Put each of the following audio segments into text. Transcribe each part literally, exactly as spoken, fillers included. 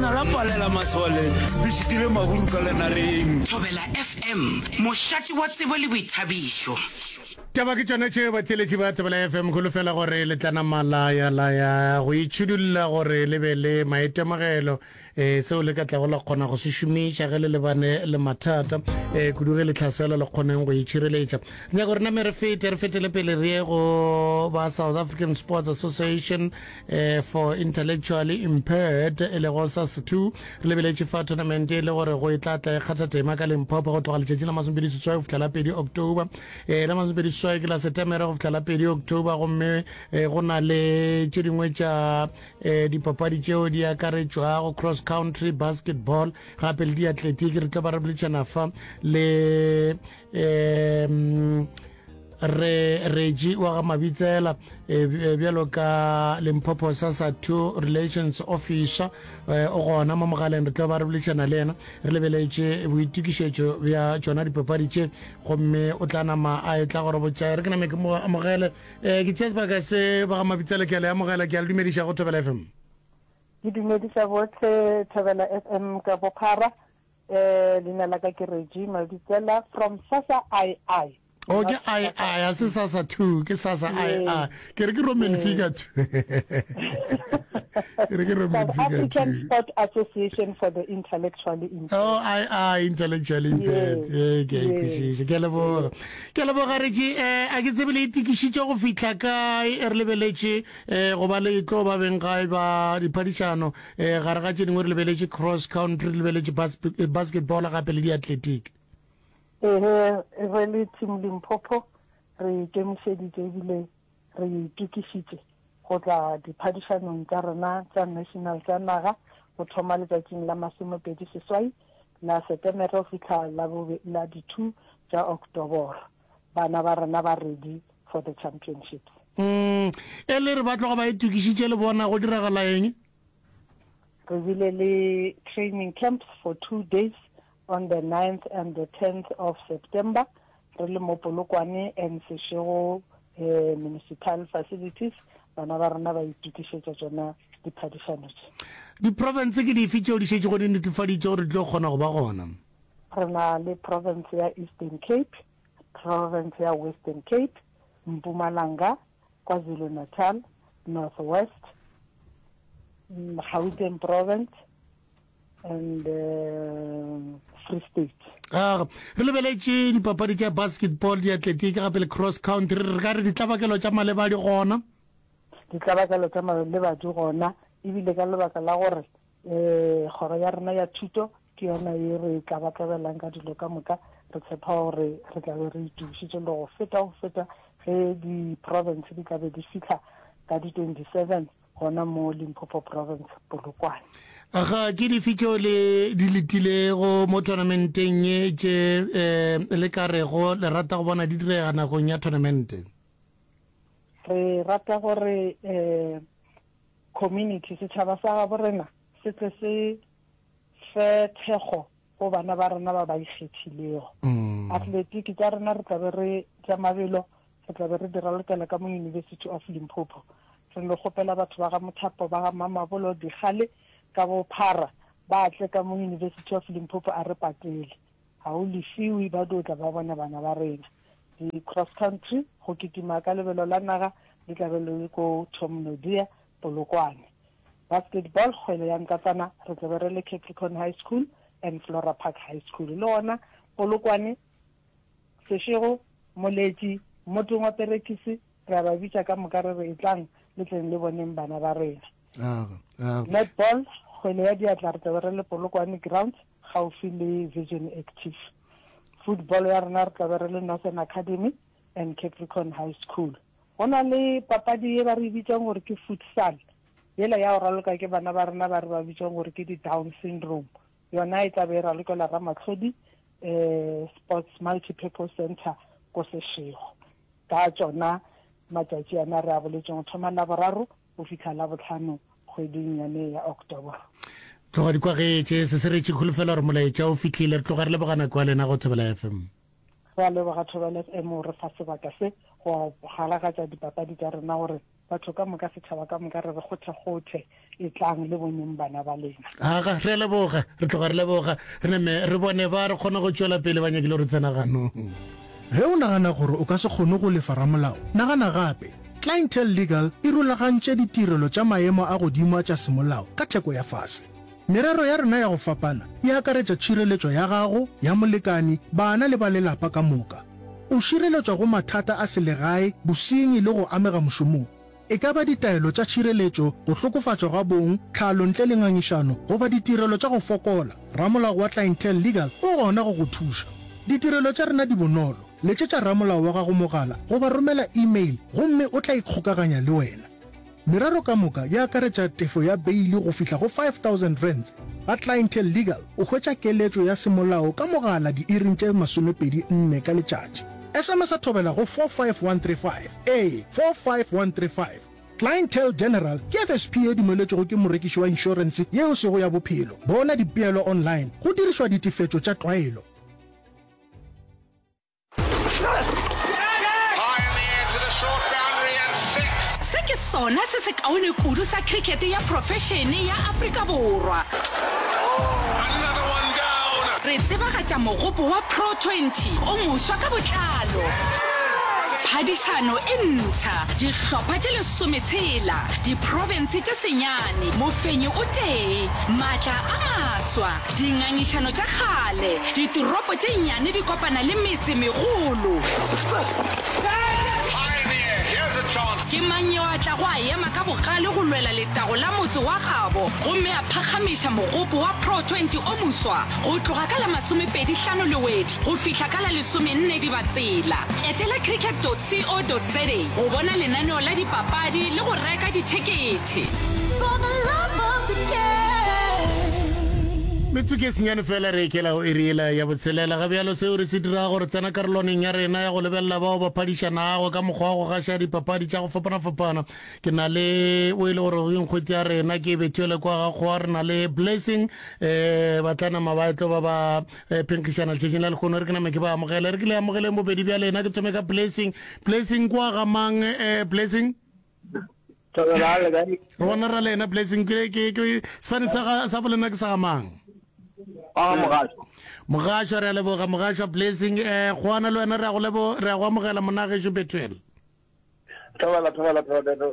Lesogana la palela masole, le šitile maburu ka lenareng. Thobela F M, mošate wa tsebo le boithabišo. Taba ke tšona tšeo, batheeletši ba Thobela F M. Kholofela gore le tla nama la ya la ya go itšhidulla gore le be le maitemogelo um seo le ka tlago la kgona go se šomiša ge le lebane le mathata, um kudu ge le tlhaselwa, le kgoneng go itšhireletša. Re nyaka gore name re fete re fetele pele re ye go ba South African Sports Association um for Intellectually Impaired, e lego SAS two. Re lebeletše fa tournament e le gore go e tla tla e kgatha tema ka Limpopo go tloga letšatši la masomepedi seswai go fihla la pedi October. um la masomepedi seswai ke la Setemere go fihla la pedi October, gomme um go na le tše dingwe tša um dipapadi tšeo di akaretšwago cross country, basketball gape le diatletic. Re tlo ba re boledišana fa le um re Regi wa ga Mabitsela, eh, bjalo ka Limpopo SASA two relations officer, eh, o gona mo mogaleng. Re tlo ba re boledišana le yena re lebeletše boitokišetšo bja tšona dipapadi tše, gomme o tla nama a e tla gore botša. Re ke name ke mo amogele. um ke tšea sebaka se, ba ga Mabitsela, ke a le amogela, ke a le dumediša go Thobela F M. Ke dumediša botlhe Thobela F M ka bophara. um leina la ka ke Regi Mabitsela from SASA I I. O ke I I, a se SASA two, ke SASA I I. Ke re ke Roman figure two, ke re ke Roman South figure African two. Sport Association for the Intellectually Impaired. Oh, I I, intellectually impaired. Yes, ee, ke a yes. ikwešiša. Ke a leboga, ke a leboga Retše. um a ke tsebe le itokišitše go fihla kae re lebeletše um go ba le tlo ba beng gae ba diphadišano? um gare ga tše dingwe re lebeletše cross country, re lebeletše bas basketball gape le diathletic. Ehe, re le team Limpopo re ikemišeditše ebile re itokišitše go tla diphadišanong tša rena tša national, tša naga, go thoma letšatšing la masomepedi seswai la Setemere go fihla la bobe la di-two tša October. Bana ba rena ba ready for the championships. mm e le re ba tloga ba itokišitše, le bona go diragala eng? Re bile le training camps for two days on the ninth and the tenth of September, re le mo Polokwane and Seshego eh, municipal facilities. Bana ba rena ba itokišetša tšona diphadišano tše. Diprovince ke dife tšeo di šetše go di netefaditše gore di tlo kgona go ba gona? Re na le province ya Eastern Cape, province ya Western Cape, Mpumalanga, KwaZulu Natal, North West, mm, Gauteng province and uh, Free State. Aga, re lebeletše dipapadi tša basketball, diatletic gape le cross country. Re ka re ditlabakelo tša maleba di gona? Ditlabakelo tša maleba di gona, ebile ka lebaka la gore um kgoro ya rena ya thuto ke yona ye re tlabakabelang ka dilo ka moka, re tshepa gore re tlabe re itokišitše le go feta go feta ge di-province di tlabe di fitlha ka di twenty-seven gona mo Limpopo province, Polokwane. Aga, ke dife tšeo le di letilego mo tournamenteng ye tše um le ka rego le rata go bona di direga nakong ya tournamente? Re rata gore um community, setšhaba sa gabo rena, se tle se fe thekgo go bana ba rena ba ba ikgethilego. mm. Athletic tša rena re tlabe re tša mabelo re tlabe re di ralokela ka mo University of Limpopo. Re no kgopela batho ba ga Mothapo, ba ga Mamabolo, Dikgale ka bophara ba tle ka mo University of Limpopo. A re patele, ga o lefiwe, ba dio tla ba bone bana ba rena. Di-cross country, go kitima ka lebelo la naga, di tlabe le ko Tom Nodia, Polokwane. Basketball, kgwele ya nkatsana, re tlabe re le Capricorn High School and Flora Park High School, le gona Polokwane, Seshego, Moletši, Mmotong wa Perekisi. Re a ba bitša ka moka, re re etlang le tleng le boneng bana ba rena. Aga, aga. Netball, kgwele ya diatla, re tlabe re le Polokwane grounds, gaufi le Vision Active. Football ya rena re tlabe re le Northern Academy and Capricorn High School. Go na le papadi ye ba re bitsang gore ke futsal, yela ya go raloka ke bana ba rena ba re ba bitsang gore ke di-Down syndrome. Yona e tlabe e ralokela Ramatlhodi um Sports Multipurpose Center ko Seshego ka tšona matšatši ana re a boletseng, go thoma Laboraro go fitlha la botlhano kgweding yane ya October. Tloga di kwagetše se se retše. Kholofela gore molaetša o fitlhile. Re tloga re leboga nako ya lena go Thobela F M. Re a leboga Thobela F M re fa sebaka se go galagatša dipapadi tša rena gore Batho ka moka, setšhaba ka moka, re re kgothekgothe, etlang le boneng bana ba lena. Aga, re a leboga, re tloga re leboga. Re name re bone ba re kgona go tšwela pele ba nyakile re tsena ganong. Ge o nagana gore o ka se kgone go lefa ramolao, nagana gape. Clientele Legal e rulagantše ditirelo tša maemo a godimo a tša semolao ka theko ya fase. Merero ya rena ya go fapana e akaretša tšhireletšo ya gago, ya molekani, bana le ba lelapa ka moka. O šireletšwa go mathata a selegae, bosenyi le go amega mošomong. E ka ba ditaelo tša tšhireletšo, go hlokofatšwa ga bong, tlhalo ntle le ngangišano, goba ditirelo tša go fokola, ramolao wa Clientele Legal o gona go go thuša. Ditirelo tša rena di bonolo. Letšetša ramolao wa gago mogala goba romela email gomme o tla ikgokaganya le wena. Merero ka moka e akaretša tefo ya beili go fihla go five thousand rands. Ga Clientele Legal o hwetša keletšo ya semolao ka mogala diiring tše masomepedi nne ka letšatši. S M S a thobela go four five one three five, ee, four five one three five. Clientele General ke F S P ye dumeletšwego ke morekiši wa inšorense ye e sego ya bophelo. Bona dipeelo online go dirišwa ditefetšo tša tlwaelo. Se ke sona se sekaone kudu sa khrikete ya profešene ya Afrika Borwa. Re tsebagatša mogopo wa Pro twenty o moswa ka botlalo. Phadišano e mpsha, dihlopha tše lesometshela, diprofense tše senyane, mofenyi o tee, maatla a maswa, dingangišano tša kgale, ditoropo tše nnyane di kopana le metse megolo. Ke mang yo a tlago a ema ka bogale go lwela letago la motse wa gabo gomme a phakgamiša mogopo wa Pro twenty o moswa go tloga ka la masomepedi hlano Lewedi go fihla ka la lesomenne Dibatsela? Etela cricket dot co dot za go bona lenaneo la dipapadi le go reka dithekethe. For the love of the game. Metsotso e senyane fela re ekela go iri yela ya botshelela. Ga bjalo seo re se dirago, re tsena karolwaneng ya rena ya go lebelela bao ba phadišanago ka mokgwa wa go gaša dipapadi tša go fapana-fapana. Ke na le o e le gore ke nkgwete ya rena, ke Bethuele kwa ga Kgowa. Re na le Blessing, eh, ba tla nama ba tlo ba ba, eh, phenkgišana letšatšing la lehono. Re ke name ke ba amogele, re ke le amogeleng bobedi bja lena. Ke thome ka Blessing. Blessing kwa ga mang, eh, Blessing? Thobela, le kae? Re bona ra lena Blessing. Ke, ke, ke, sefane sa ga, sa bolena ke sa ga mang? Ah, Mogasho. Mogasho, re a leboga Mogasho. Blessing, eh, Kgowana le wena re a go lebo, re a go amogela monagešo Bethuel. Thobela, thobela, thobela.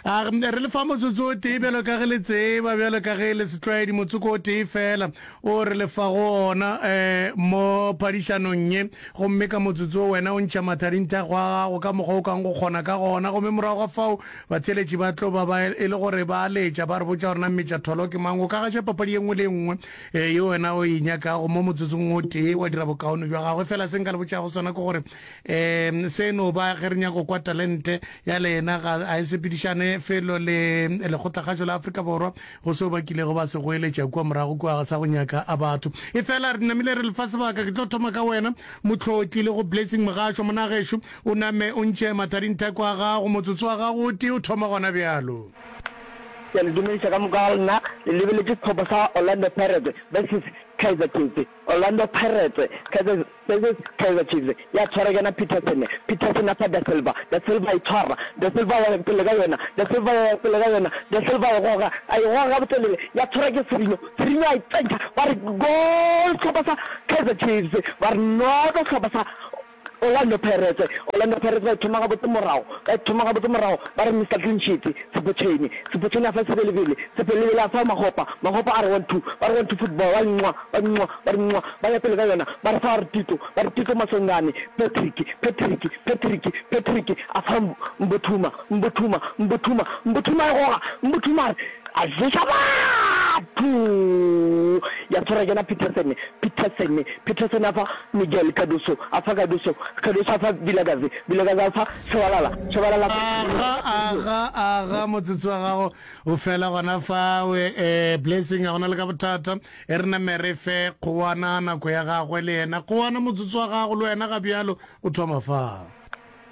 A re le fa motsotso o tee bjalo ka ge le tseba, bjalo ka ge le setlwaedi, motsoko o tee fela o re le fa go ona, eh, mo phadišanong ye. Gomme ka motsotso o wena o ntšha mathadinthago a gago ka mokgwa o kang go kgona ka gona. Gomme morago ga fao batheeletši ba tlo ba ba e le gore ba letša, ba re botša gore na mmetša tholo ke mang. O ka gaša papadi ye nngwe le ye nngwe, eh, ye wena o e nyakago mo motsotsong o tee, wa dira bokaone bja gagwe. Fela se nka le botšago sona ke gore, um se no ba ge re nyaka go kwa talente ya lena, ga a e sepedišane felo le lekgotlakgašo la Afrika Borwa go seo ba kilego ba se goeletša kua morago kua sa go nyaka a batho. E fela re namile re lefa sebaka. Ke tlo thoma ka wena Mohlotli le go Blessing Mogasho. Monagešo, o name o ntšhe mathadinthako a gago, motsotso wa gago o tee o thoma gona bjalo. Ke a le dumediša ka moka ga lena. Le lebeletše sehlopha sa Orlando Pirates versus Kaizer Chiefs. Orlando Pirates versus Kaizer Chiefs. Ya tshwara ke yena Peterson. Peterson a fa Da Silva. Da Silva a e tshwara. Da Silva a ya pele ka yona. Da Silva a ya pele ka yona. Da Silva a e goga. A e goga gabotelele. Ya tshwara ke Sirino. Sirino a e tsentšha. Ba re goal sehlopha sa Kaizer Chiefs. Ba re noto sehlopha sa Orlando Pirates. Orlando Pirates ba e thoma gabotse morago. Ba e thoma gabotse morago. Ba re Mister Clean Sheet, Tshepo Chaine. Tshepo Chaine a fa Sebelebele. Sebelebele a fa Makgopa. Makgopa a re one two. Ba re one two football. Ba nwa, ba nwa, ba re nwa. Ba ya pele ka yona. Ba re fa Tito. Ba re Tito Maswanganyi. Patrick, Patrick, Patrick, Patrick a fa Mbuthuma, Mbuthuma, Mbuthuma, Mbuthuma a e goga. Mbuthuma a re, a ješa batho. Ya tshwara ke yena Peterson, Peterson, Peterson a fa Miguel Cardoso, a fa Cardoso, Cardoso a fa Vilakazi, Vilakazi a fa Shabalala, Shabalala a fa Aga, aga, aga, motsotso wa gago o fela gona fawe. Eh, Blessing, ga gona le ka bothata. E re name re fe Kgowana nako ya gagwe le yena. Kgowana, motsotso wa gago le wena ga bjalo o thoma fa.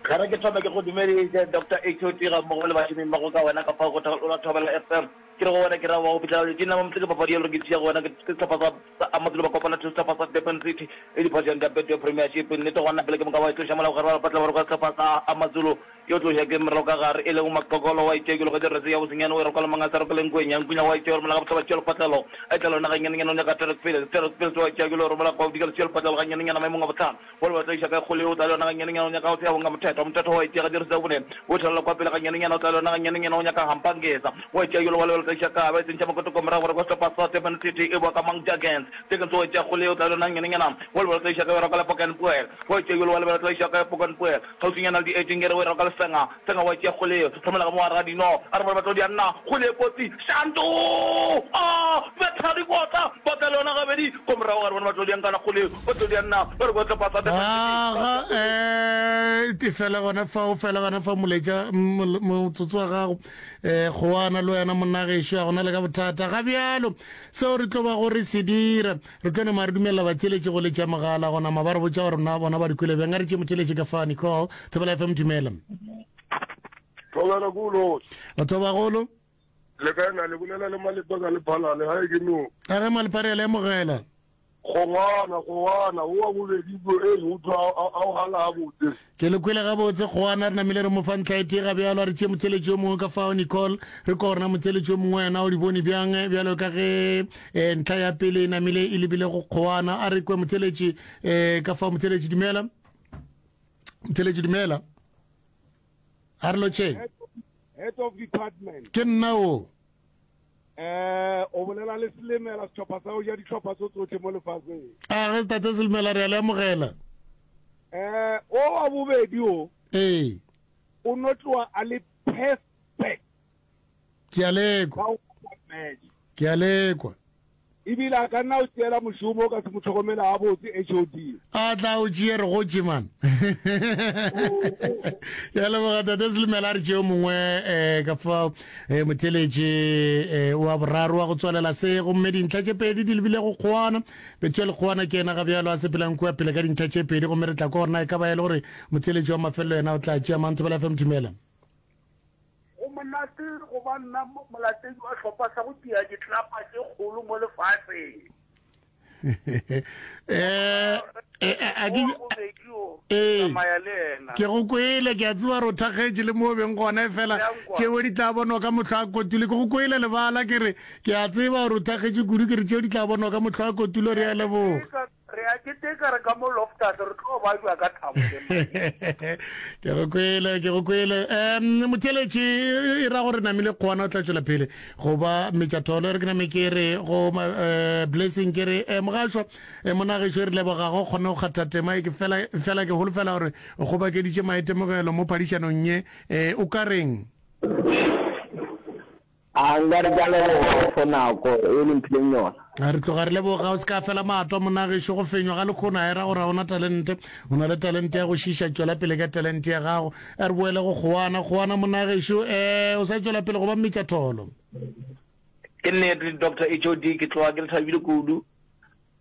Ge re ke thome ke go dumeditše Doctor H O T ga mmogo le bašomi mmogo ka wena ka fao go la Thobela F M. Ke re go wena ke ra wa go fihlela letšatšing la mamotse ke papadi ye le gore ke tšea go wena ke sehlopha sa sa Amazulu ba kopana to sehlopha sa Durban City e diphatšeng tša Betway Premiership. Nnete gona pele ke moka ba e tloša mola gare ba patla ba roka sehlopha sa Amazulu Yo tloša ke morago ka gare, e lego Maqokolo wa itšea ke logetše rese ya bosenyane o e roka le mangasa roka le nkwenya, nkwenya wa itšea o romela ga bohlaba tšea lepatlelo, a etla lona ganyanenyane o nyaka Derek Fields, Derek Fields wa itšea ke lo romela kwa bodikela tšea lepatlelo ganyanenyane maemong a bohlano, wa le batla iša kae kgole o tla le yona ganyanenyane o nyaka go tsea bonga Mothetho, Mothetho wa itšea ga jeresi ya bone o thelela kwa pele ganyanenyane o tla le yona ganyanenyane o nyaka Hampangeza wa itšea yolo wa le batla iša kae ba e tsentšha makotoko morago gore kwa sehlopha sa Durban City e boa ka Mang Jurgens, Jurgens wa itšea kgole o tla le yona ganyanenyana wa le batla iša kae o roka le Poken Poel wa itšea yolo wa le batla iša kae Poken Poel Kgauswinyana le di-eighteen-gere o e roka lesenga, senga wa tšea kgole, romela ka mo gare ga dino, a re bone batlodi a nna, kgole e kotsi, Shanto! A betha dikota, ba tla le yona gabedi, ko morago ga re bone batlodi a nkana kgole, batlodi a nna, ba re kwa sehlopha sa Durban City, ba Aga, eh, e fela gona fao, fela gona fa moletša motsotso wa gago, eh, Kgowana le wena monna gešo, a gona le ka bothata. Ga bjalo, seo re tlo bago re se dira, Re tlo nama re dumelela batheeletši go letša mogala go nama ba re botša gore na bona ba di kwele bjang. A re tšee motheeletši ka fa, Nicole, Thobela F M, dumela. Thobela ke o lotšha. Batho ba bagolo. Le kae na le bolela le Malepa ka Lephalale gae ke no. A ge Malepa re a le amogela. Kgongwana, kgongwana, wo wa bobedi ko e utlwa a o gala gabotse. Ke le kwele gabotse, Kgowana, re namile re mo fa ntlha e tee ga bjalo. A re tšee motheeletši yo mongwe ka fao, Nicole. Re kwa gore na motheeletši yo mongwe wena o di bone bjang, bjalo ka ge eh, ntlha ya pele e namile e lebile go Kgowana. A re kwe motheeletši eh, ka fao. Motheeletši, dumela. Motheeletši, dumela. A re lotšheng. Head of department. Ke nna o. Eh, o bolela le Selemela, sehlopha sa go ja dihlopha tso tsohle mo lefaseng. A ge tate Selemela, re a le amogela. Eh, o wa bobedi o. Ee. O no tloga a le perfect. Ke a lekwa. Ke a lekwa. Ebile a ka nna o tšeela mošomo o ka se mo hlokomele gabotse H O D. A tla o tšee re gotše man. Ya leboga tate Selemela a re tšeo mongwe eh, ka fao eh, motheletše eh, wa boraro wa go tswalela se gomme dintlha tše pedi di lebile go Kgowana. Bethuel Kgowana ke yena ga bjalo a sepelang kua pele ka dintlha tše pedi gomme re tla kwa gore na e ka ba e le gore motheletši wa mafelelo yena o tla tšea mang. Thobela F M dumela. Go monate go ba nna molatedi wa hlopha sa go tia ditlelapa tše kgolo mo lefaseng. Eh, eh, a ke ee ke go kwele ke a tseba gore o thakgetše le mo o beng gona efela tšeo di tla bonwa ka mohlo a kotulo ke go kwele lebala ke re ke a tseba gore o thakgetše kudu ke re tšeo di tla bonwa ka mohlo a kotulo re a leboga Re a keteka re ka mo Loftus, re tlo bajwa ka thabo le Maria. Ke go kwele, ke go kwele. Um, motheeletši e ra gore namile kgowana o tla tšwela pele go ba metšatholo. Re ke name ke re go uh, Blessing ke re eh, mogašwa eh, monagešo re leboga go kgone go kgatha tema e ke fela fela ke holofela gore o kgobakeditše maitemogelo mo phadišanong ye. Eh, o ka reng? A nka re ke a leboga for nako e le mphileng yona. A re tloga re leboga, o se ka fela matwa monna gešo, go fenywa ga lekgono a e ra gore ga o na talente, o na le talente ya go šiša, tšwela pele ka talente ya gago. A re boele go Kgowana, Kgowana monna gešo, eh, o sa tšwela pele go ba mmetšatholo. Ke nnete Doctor H O D ke tloga ke le thabile kudu.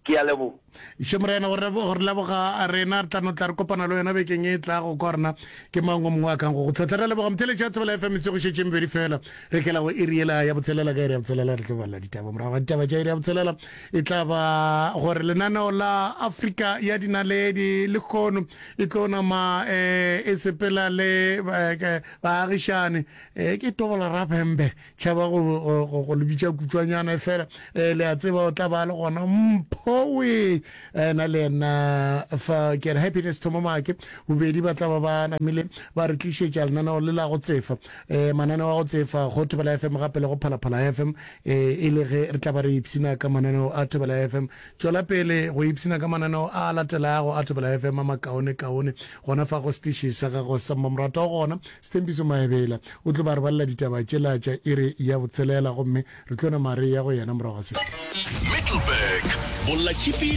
Ke a leboga. Še Morena, go re, go re leboga rena. Re tla no tla re kopana le wena bekeng e tlago, kwa rena ke mang o mongwe a kang go go tlhotla. Re a leboga motheeletši wa Thobela F M, metsotso go šetše e mebedi fela re kela go iri yela ya botshelela. Ka iri ya botshelela re tlo balela ditaba. Morago ga ditaba tša iri ya botshelela e tla ba gore lenaneo la Afrika ya Dinaledi lehono e tlo nama eh, e sepela le eh, baagišane eh, ke Tobola Rabembe Tšhaba go, go, go, go le bitša kutšwanyana, efela eh, le a tseba o tla ba le gona Mphowe ena le yena fa ke re Happiness Thomomake, bobedi ba tla ba ba namile ba re tlišetša lenaneo le la go tsefa eh, mananeo a go tsefa go Thobela F M gape le go Phalaphala F M eh, e le ge re tla ba re ipshina ka mananeo a Thobela F M. Tšwela pele go ipshina ka mananeo a latelago a Thobela F M a makaonekaone gona fa go setiši sa gago sa mmamoratwa gona Sthembiso Maebela o tlo ba re balela ditaba tšela tša iri ya botshelela gomme re tlo nama re ya go yena morago ga se. Middelburg, Bollatšhipi